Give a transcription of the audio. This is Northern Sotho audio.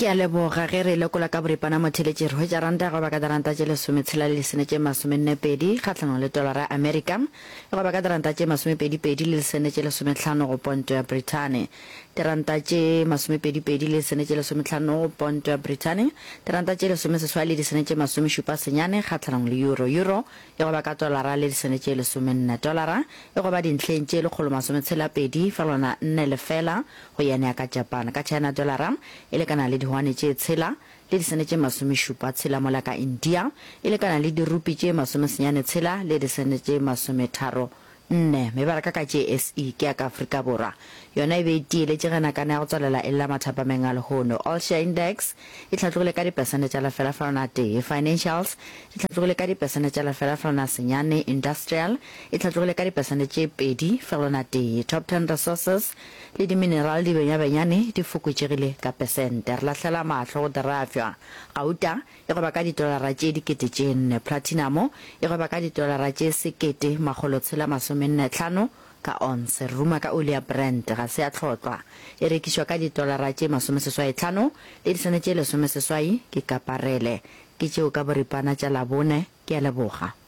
Ke a leboga. Ge re e lekola ka boripana motheeletši, re hwetša ranta e gweba ka diranta tše lesometshela le disene tše masomennepedi kgahlanong le tolara ya Amerika, e gweba ka diranta tše masomepedipedi le disene tše lesomehlano go ponto ya Brithani. Diranta tše masomepedipedi le disene tše lesomehlano go ponto ya Brithani, diranta tše lesomeseswai le disene tše masomešupa senyane kgahlanong le euro. Euro e gweba ka tolara le disene tše lesomenne. Tolara e gweba dintlheng tše lekgolomasometshela-pedi fegelwana nne lefela go yen ya ka Japan. Ka China dolara e lekana le dihwane tše tshela le disene tše masomešupa tshela mola ka India e lekana le dirupi tše masomesenyane tshela le disene tše masometharo nne. Mebaraka ka JSE ke ya ka Afrika Borwa. Yona e be e tieletše ge nakana ya go tswalela e lla mathapameng a lehono. All Share Index e hlatlogile ka dipesente tša lefela fegelwana tee. Financials di hlatlogile ka dipesente tša lefela fegelwana senyane. Industrial e hlatlogile ka dipesente tše 2,1. Top Ten Resources le dimineral di benyabenyane di fokotšegile ka pesente. Re lahlela mahlo go dirafjwa. Gauta e gweba ka ditolara tše 4000. Platinamo e gweba ka ditolara tše 1645 ka onse. Re ruma ka oli ya Brent, ga se ya hlotlwa. E rekišwa ka ditolara tše 85 le disene tše 18 ke ka parele. Ke tšeo ka boripana tša Labone. Ke a leboga.